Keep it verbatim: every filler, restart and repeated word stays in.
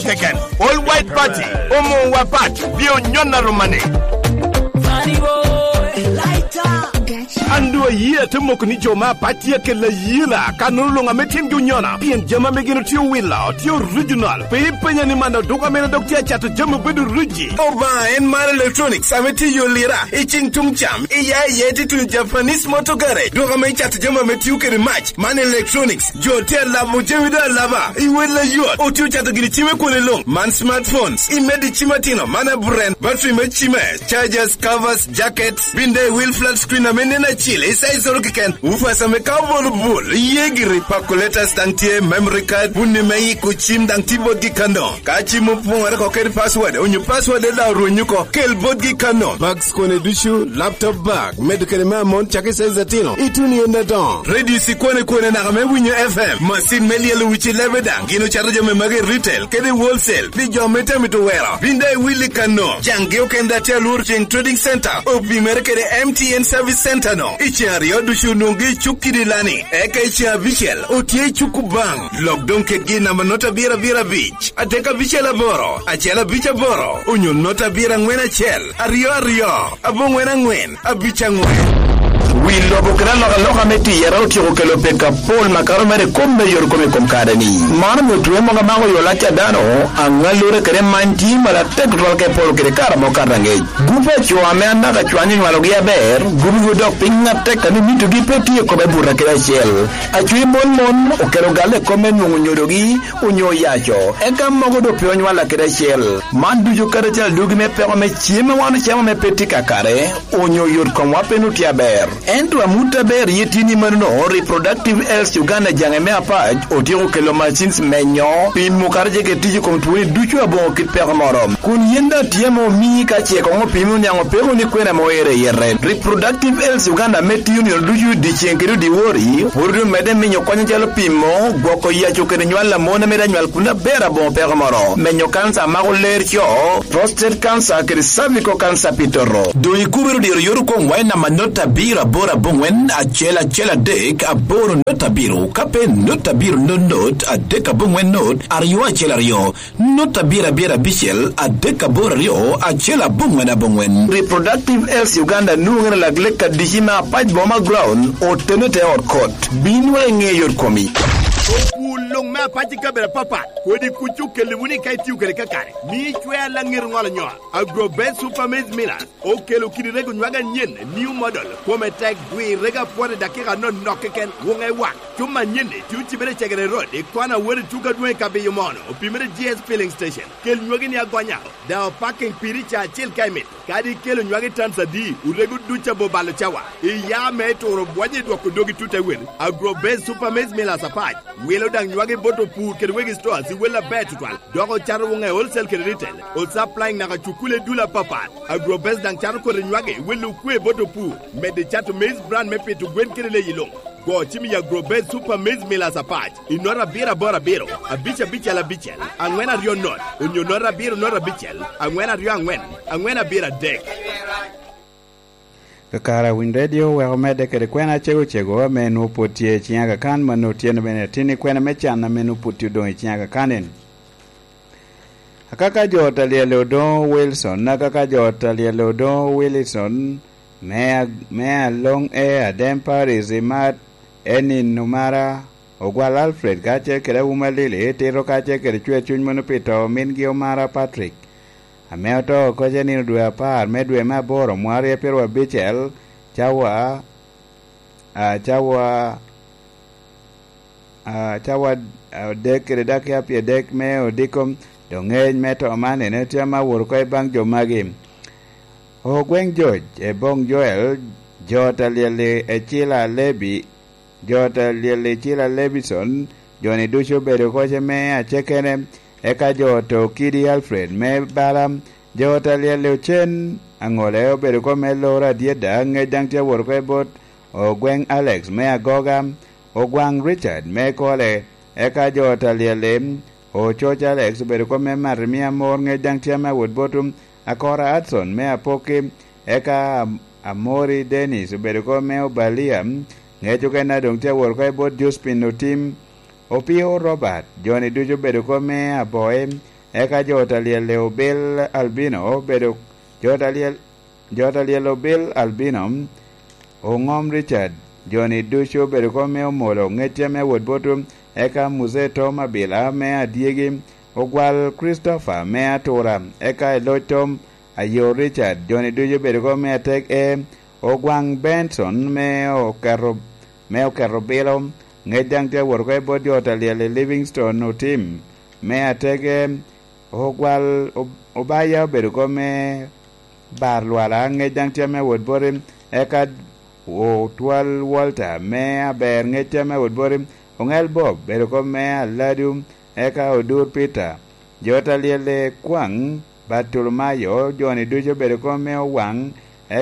Keken, All White Party, omo wa pat, bi onyonna romane. An doŋ ayie ate moko ni jo me apac tye akella ayela, ka nono luŋ ame tyengi onyona, pien jami ame gin otye owilo, tye original. Pe ipenya ni man oduka mene dok tye acato jami obedo riji. Obaŋa en mar electronics ame tye yo lira, i ciŋ tuŋ cam, i ya i ya tye tuŋ Japanese Motor Garage, duka ame icato jami ame tio kede mac, man electronics. Jo tye alabo jami doŋ alaba i wel ayot. Otye ocato gini cim i kwone luŋ. Man smartphones, i medo i cim atino, man aburen, battery me cime, chargers, covers, jackets, bin daŋ i wil flat screen ame nen acil, i size oro keken. Ufas ame ka obolo bul, iye giri. Calculators daŋ tye, memory card, bunni me iko cim daŋ tye botgi kano. Ka cim opoŋere oko kede password, onyo password daŋ orwenyo oko, kel botgi kano. Bags kone ducu, laptop bag, medo kede me amon cak i size atino, ituno i ende adoŋo. Radio sikwane kwane naka me winyo F M, masin me lyelo wic i lebe daŋ, gin ocato jami magi i retail, kede wholesale, pi jo me tamito wero. Bin daŋ iwil i kano, caŋgi okende atye alworo ceŋ Trading Center, opimere kede M T N Service Center no. I ceŋ aryo ducu nwoŋgi i cuk kidi lani, eka i ceŋ abicel, otye i cuk Kubaŋ. Lok doŋ kedgi i namba nota abiro abiro abic, adek abicel aboro, acel abic aboro, onyo nota abiro aŋwen acel, aryo aryo, aboŋwen aŋwen, abic aŋwen. Wi lobo kede alokaloka me tiyere otyeko kelo pek apol makato mere i kom me yore kom i kom kare-ni. Man omio twe mogo amako yo lac a dano, aŋallure kede many tye malatek tutwal ka iporo kede kare amo kato aŋec. Gupe a co ame anaka cwany onywalogi aber, gupiwu dok piny atek ame mitogi pe tye i kome buto kede acel. Acwi mon mon okelo galle i kom me nwoŋo nyodogi onyo yaco, eka mogo doŋ pe onywalla kede acel. Man ducu kadi acel adugi me peko me cem a wan ocamo ame pe tye kakare, onyo yot komwa pe nwoŋo tye aber. Ento amut aber ye tye ni manono, Reproductive Health Uganda jaŋe me apac otyeko kelo machines menyo, pimo kadi ce kede tic i kom twoni ducu aboŋo kit peko moro. Kun yen daŋ tye ame omii ka ce koŋ opimi oniaŋ opeko ni kwena ame oero i yete. Reproductive Health Uganda ame tiyo nino ducu dyeceŋ kede dyewor-ri, pwod omedde miyo kony acalo pimo, gwoko yaco kede nywal a mon ame daŋ nywal kun aber aboŋo peko moro, menyo kanca a mako ler co, prostate cancer kede cervical cancer pi toto. Doŋ ikubere dyero yot okoŋwa i namba not abiro aboro aboŋwen acel acel adek aboro not abiro, ka pe not abiro not not adek aboŋwen not aryo acel aryo, not abiro abiro abicel adek aboro aryo acel aboŋwen aboŋwen. Reproductive Health Uganda nwoŋere lak lek adici me apac boma ground otene te ot kot. Bin wek iŋe yot komi. Opur luŋ me apac i kabedo apapat, kodi kuc okelliwu ni ka itio kede kakare, mi icwea laŋet ŋolo nyoa. Agrobest Super Maize Millers okelo kidi rego nywag anyen, new model, kome tek, dwi rego apwot i dakika anonok keken, wuŋe wak. Cum anyen-ni tye ocibere i Cegere Road, i kona wot i tuko adwoŋ i Kabiyo Mono, opimere G S Filling Station. Kel nywagi ni agonya, daŋ opaking piri ca acel ka imito. Kadi ikelo nywagi tans adi, orego duc abo balo cawa. Iya me turo bwonyo i dwoko dogi tut ewel. Agrobest Super Maize Millers apac wilo daŋ nywagi bot opur kede wegi stores i wel aber tutwal, dok ocato wuŋe wholesale kede retail, o supplying naka cukule dul apapat. Agrobest daŋ cato kodi nywagi welo okwe bot opur, medde cato maize bran me pito gwen kede leyi luŋ. Go cim i Agrobest Super Maize Millers apac i nota abiro aboro abiro, abic abicel abicel, aŋwen aryo not, onyo nota abiro nota abicel, aŋwen aryo aŋwen, aŋwen abiro adek. Kakare a Winy Radio wek omedde kede kwena cego cego ame nwoŋo pwod tye i ciŋ Aga Khan, ma nwoŋo tye bene atin i kwena me can ame nwoŋo pwod tye odoŋ i ciŋ Aga Khan en. Akaka jo ot a lyel Odoŋo Wilson, akaka jo ot a lyel Odoŋo Wilson, me a-, me Aloŋ E Adem Paris i Mat, Enin Numara, Ogwal Alfred kacel kede Awuma Lili, Tito kacel kede Cwer Cuny Mono pi to mingi Omara Patrick, ame oto oko ce nino dwe apar me dwe me aboro mwaka aryo pyeraryo abicel, cawa, a, cawa, a, cawa adek kede dakika pyeradek me odiko. Doŋ ŋec me to man ene tye ame awot oko i baŋ jo magi. Ogweŋ Joc, Eboŋ Joel, jo ot a lyel-li Ecila Lebi, jo ot a lyel-li Ecila Lebison, jo-ni ducu obedo oko ce me acekene, eka jo ot a Okidi Alfred me Bala, jo ot a lyel-li Ocen Aŋole obedo oko me Loro Adyeda, ŋec daŋ tye awot oko i bot Ogweŋ Alex me Agoga, Ogwaŋ Richard me Kole, eka jo ot a lyel-li Ococ Alex obedo oko me Marimia Amor, ŋec daŋ tye ame awot bot Akora Hudson me Apoki, eka Am-, Amori Dennis obedo oko me Obalia, ŋec okene doŋ tye awot oko i bot Jospin Otim, Opio Robert, jo-ni ducu obedo oko me Aboe, Eka jo talyel-le obil Albino obedo, jo talyel, jo talyel obil Albino oŋom Richard, joni ducu obedo kop me omolo ŋecce me wot botwu. Eka Muse Tom Abila me adyegi ogwal Christopher me atura. Eka i loc Tom ayo Richard, joni ducu obedo kop me atek e ogwaŋ Benson me oketo, me oketo bilo. Ŋec daŋ tye awot oko i bot jo talyel i Livingstone Otim me atege. Ogwal Ob-, Obaya obedo kop me bar lwala, ŋec daŋ tye me wot boti. Eka Otwal Walter me aber, ŋec tye me wot boti. Oŋel Bob obedo kop me aladu, eka Odur Peter. Jo talyel i Kwaŋ Bartolomayo, joni ducu obedo kop me owaŋ.